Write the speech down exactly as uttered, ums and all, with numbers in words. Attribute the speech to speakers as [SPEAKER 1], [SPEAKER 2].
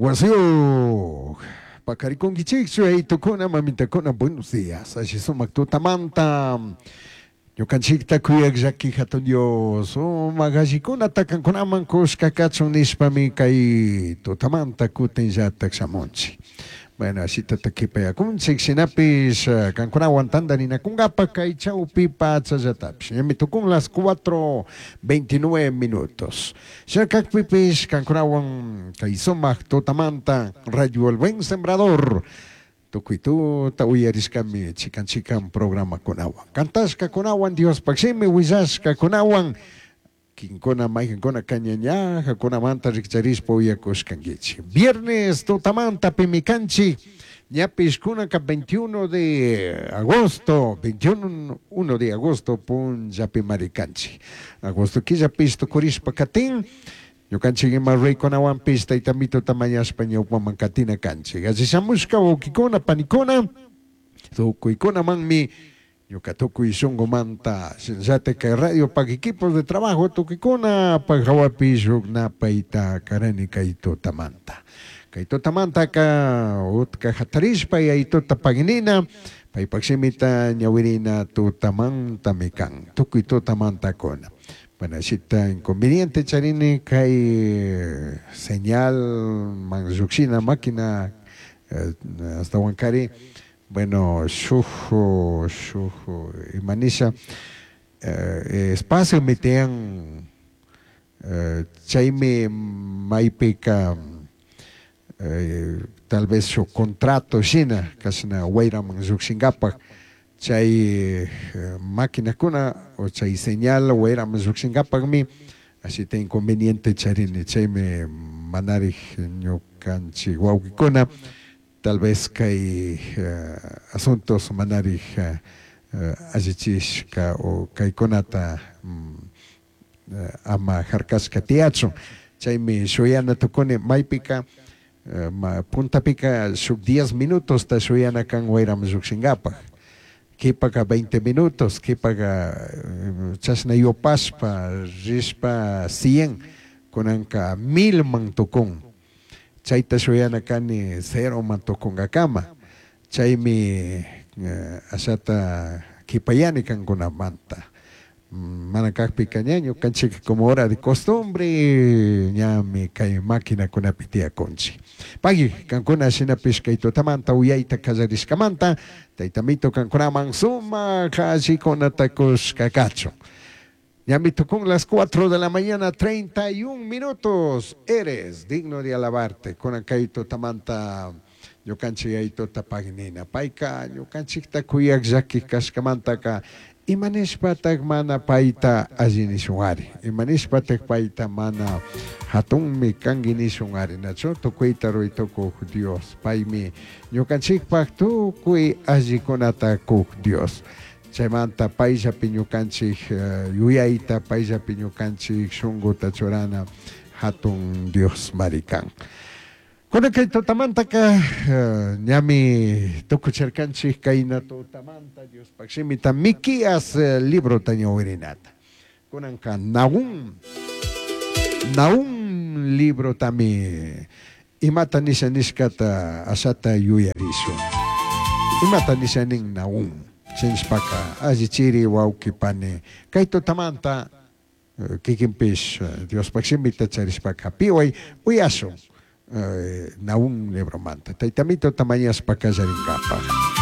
[SPEAKER 1] Wasiyuq paqarikunkichikchu, yayitukuna, mamitakuna? Buenos días. Alli sumak tutamanta. Ñukanchikta kuyaq llaki hatun Dios sumak allikunata kankunaman kushka kachun nishpami kay tutamanta kutinllatak shamunchik. Bueno, ashitata kipayakunchik, shinapish kankunawan tantarinakunkapak kay chawpi pachallatapish. Ñami tukun las cuatro veintinueve minutos. Shina kakpipish kankunawan kay sumak tutamanta Radio El Buen Sembrador tukuy tuta uyarishkami chikan chikan programakunawan. Kantashkakunawan, Diospaj shimi willashkakunawan, kinkuna maykankuna kañañajakunamanta rikcharishpa uyakushkankichik. Viernes tutamanta pimi kanchik, ñapish kunaka veintiuno de agosto, veintiuno uno de agosto punllapi marikanchik. Agosto killapish tukurishpa katin, ñukanchik ima reykunawanpish tayta mituta mañashpa ñawpaman katina kanchik. Alli shamushka wawkikuna, panikuna, tukuykunamanmi ñuka tukuy shunqumanta shinallatak kay radio pak equipos de trabajo tukuykuna pak hawapi shuk napayta karani kay tutamanta. Kay tutamantaka utka hatarishpa yayituta paginina, paypak shimita ñawirina tutamantami kan, tukuy tutamantakuna. Bueno, ashita inconveniente charini kay señal man llukshina máquina, eh, hasta Huancari, bueno, shuk, shuk imanisha, eh, espacio mitian, eh, chaymi maypika, eh, tal vez shuk contrato shina, kashna wayraman llukshinkapak, chay, eh, maquinakuna o chay señal wayraman llukshinkapakmi ashita inconveniente charini, chaymi manarik ñukanchik wawkikuna tal vez kay, eh, asuntos manarik, eh, allichishka o kaykunata, mm, eh, ama harkashka tiyachun, chaymi shuyana tukuni maypika, eh, ma, puntapika shuk diez minutos ta shuyana kan wayraman llukshinkapak, kipaka veinte minutos, kipaka, eh, chashna yupashpa rishpa cien, kunanka mil man tukun, chayta shuyana kani cero man tukunkakama, chaymi, eh, ashata kipayani kankunamanta. Mana kakpika ña ñukanchik como hora de costumbre ñami kay maquinakunapi tiyakunchik. Pagui kankuna shinapish kay tutamanta uyayta kallarishkamanta tayta mito kankunaman sumak allikunata kushka kachun. Ñami tukun las cuatro de la mañana, treinta y un minutos. Eres digno de alabarte. Kunan kay tutamanta ñukanchik yayituta paginina. Payka ñukanchikta kuyak llaki kashkamantaka imanishpatak mana payta alli nishunari, imanishpatak payta mana hatunmi kanki nishunari, nachu tukuyta ruytukuq Dios, paymi ñukanchikpak tukuy allikunata kuq Dios. Chaymanta payllapi ñukanchik, eh, yuyayta, payllapi ñukanchik shunquta churana hatun Dios marikan. Kunan kay tutamantaka, eh, ñami tukucharkanchik kayna tutamanta Diospaq shimita Miqueas, eh, librota ñawirinata. Kunanka Nahum, Nahum librotami imata nisha nishkata ashata yuyarishun. Imata nisha nin Nahum, chinshpaka allichiri wawqi pani kay tutamanta, eh, kikinpish, eh, Diospaq shimita charishpaka piway uyashun. Eh, Nahum libromanta. Tayta mito tamañaspa kallarinkapaj.